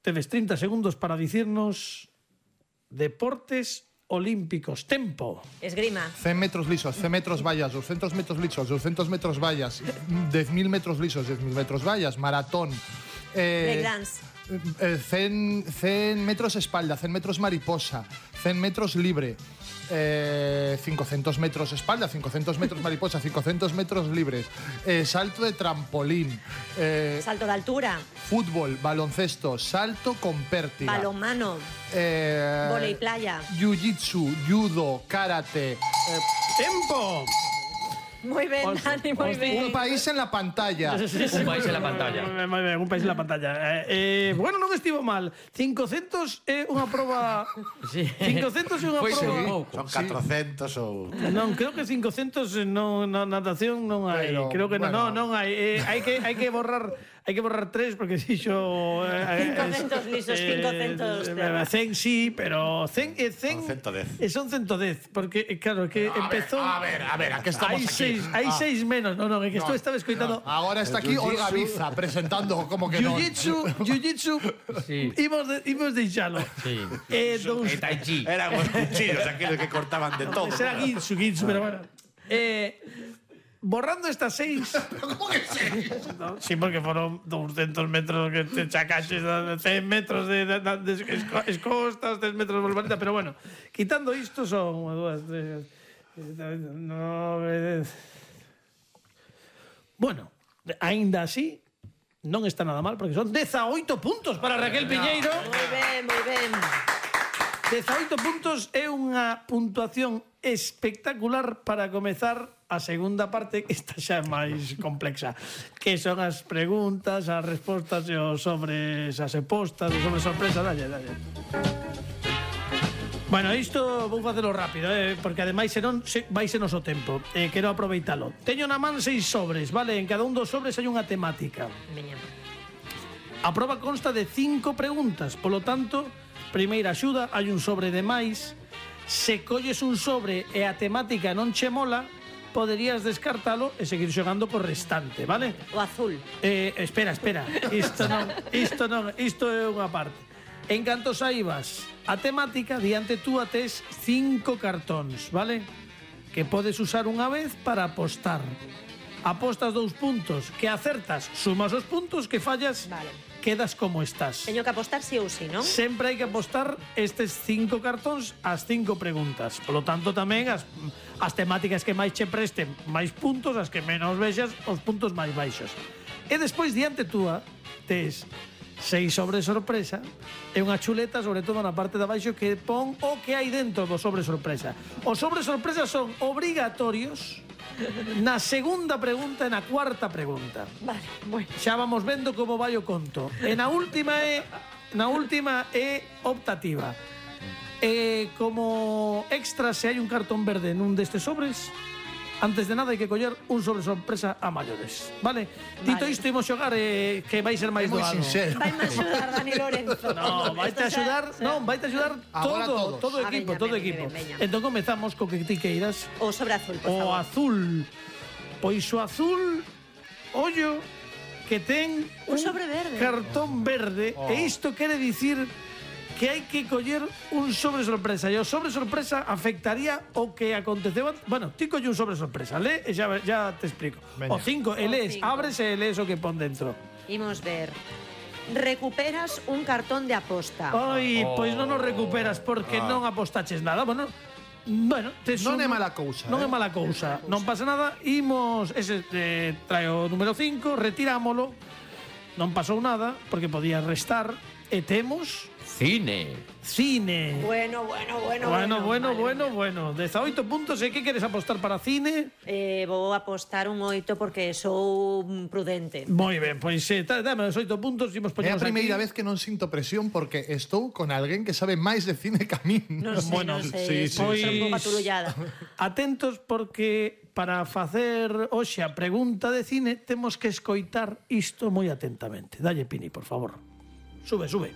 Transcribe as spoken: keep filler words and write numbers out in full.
Tedes trinta segundos para dicirnos deportes olímpicos. Tempo. Esgrima. cen metros lisos, cen metros vallas, doscientos metros lisos, doscientos metros vallas, diez mil metros lisos, diez mil metros vallas, maratón. Eh, Breakdance. eh, cen, cen metros espalda, cen metros mariposa, cen metros libre. Eh, cincuenta metros espalda, cincuenta metros mariposa, cincuenta metros libres, eh, salto de trampolín, eh, Salto de altura. fútbol, baloncesto, salto con pértiga, Balonmano. eh, Volei playa. jiu-jitsu, judo, karate, eh, Tempo. Moi ben, Os- Dani, moi os- ben. un país en la pantalla. Un país en la pantalla. Moi ben, un país en la pantalla. Eh, eh, bueno, non estivo mal. cincocentos é unha proba... Sí. cincocentos é unha Foi ser un proba... pouco. Son catrocentos ou... Non, creo que cincocentos non, na natación non hai. Pero, Creo que bueno. non, non hai. Eh, hai que hai que borrar hai que borrar tres porque dixo eh, cincocentos lisos, cincocentos terra. cen sí, pero cen e cen Son ciento dez. e son ciento dez porque eh, claro, que empezou A ver, a ver, a que estamos Hai aquí. seis, hai Ah. seis menos. No, no, é que No, isto estaba escoitando. no. Ahora está aquí jiu-jitsu. Olga Biza presentando como que no. Jiu-jitsu, jiu-jitsu. Sí. Imos de, imos deixalo. Sí. Eh, dous, E Tai Chi. Eran os cuchillos aqueles que cortaban de todo. será Ginsu, Ginsu, pero bueno. Eh, borrando estas seis. ¿Cómo que sí? No, sí, porque fueron doscientos metros que te chacaches, cen metros de, de, de, de esco- escostas, cen metros de volvareta, pero bueno, quitando isto son unha, dúas, tres, nove, dez. Bueno, aínda así non está nada mal porque son dezaoito puntos para Raquel Piñeiro. Moi ben, moi ben. dezaoito puntos é unha puntuación espectacular para comezar a segunda parte, que está xa máis complexa, que son as preguntas, as respostas e os sobres, as apostas, os sobres sorpresa. Dalle, dalle. Bueno, isto vou facelo rápido, eh, porque ademais senón se, vai ser noso tempo. Eh, quero aproveitalo. Teño na man seis sobres, vale? En cada un dos sobres hai unha temática. Veña. A proba consta de cinco preguntas, polo tanto, primeira axuda, hai un sobre de máis. Se colles un sobre e a temática non che mola, poderías descartalo e seguir xogando co restante, vale? O azul. Eh, espera, espera. Isto non, isto non, isto é unha parte. En canto saibas a temática, diante tú tes cinco cartóns, vale? Que podes usar unha vez para apostar. Apostas dous puntos, que acertas, sumas os puntos, que fallas, Vale. quedas como estás. Teño que apostar sí ou sí, non? Sempre hai que apostar estes cinco cartóns ás cinco preguntas. Por lo tanto, tamén as, as temáticas que máis che presten máis puntos, as que menos vexas, os puntos máis baixos. E despois, diante túa, tes seis sobre sorpresa e unha chuleta, sobre todo na parte de abaixo, que pon o que hai dentro do sobre sorpresa. Os sobre sorpresa son obrigatorios na segunda pregunta e na cuarta pregunta. Vale, bueno. Xa vamos vendo como vai o conto. E na última é na última é optativa. E como extra, se hai un cartón verde nun destes sobres, antes de nada hai que coller un sobre sorpresa a maiores, vale? Dito Vale. isto, imos xogar eh, que vai ser máis Moi doado. sincero. Vai me axudar Dani Lorenzo. No, vaite a Esto xa- axudar, xa- non, vaite a axudar Agora todo, todos. todo Ah, equipo, veña, todo veña, equipo. veña, veña. Entón comezamos co que ti queiras. O sobre azul, por O favor. azul. Pois o azul, ollo, que ten Un sobre verde. cartón verde. Oh. E isto quere dicir que hai que coller un sobre sorpresa. E o sobre sorpresa afectaría o que aconteceu antes. Bueno, ti colle un sobre sorpresa, le e xa, xa te explico. Veña. O cinco, e O lees, cinco. abres e lees o que pon dentro. Imos ver. Recuperas un cartón de aposta. Ai, Oh. pois non o recuperas porque non apostaches nada. Bueno, bueno, tes Non un- é mala cousa, Non é eh. mala cousa. Non pasa nada. Imos, ese eh, trae o número cinco, retirámolo. Non pasou nada porque podía restar e temos Cine. cine. Bueno, bueno, bueno, Bueno, bueno, Vale, bueno, veña. bueno. dezaoito puntos. E que queres apostar para cine? Eh, vou apostar un oito porque sou mm, prudente. Moi ben, pois eh, tá, dame os oito puntos. Imos É a poñemos primeira aquí. vez que non sinto presión porque estou con alguén que sabe máis de cine que a min. Non sei, Bueno, non sí, sei, sí, estou sí. un pouco aturullada. Atentos porque para facer hoxe a pregunta de cine temos que escoitar isto moi atentamente. Dalle, Pini, por favor. Sube, sube.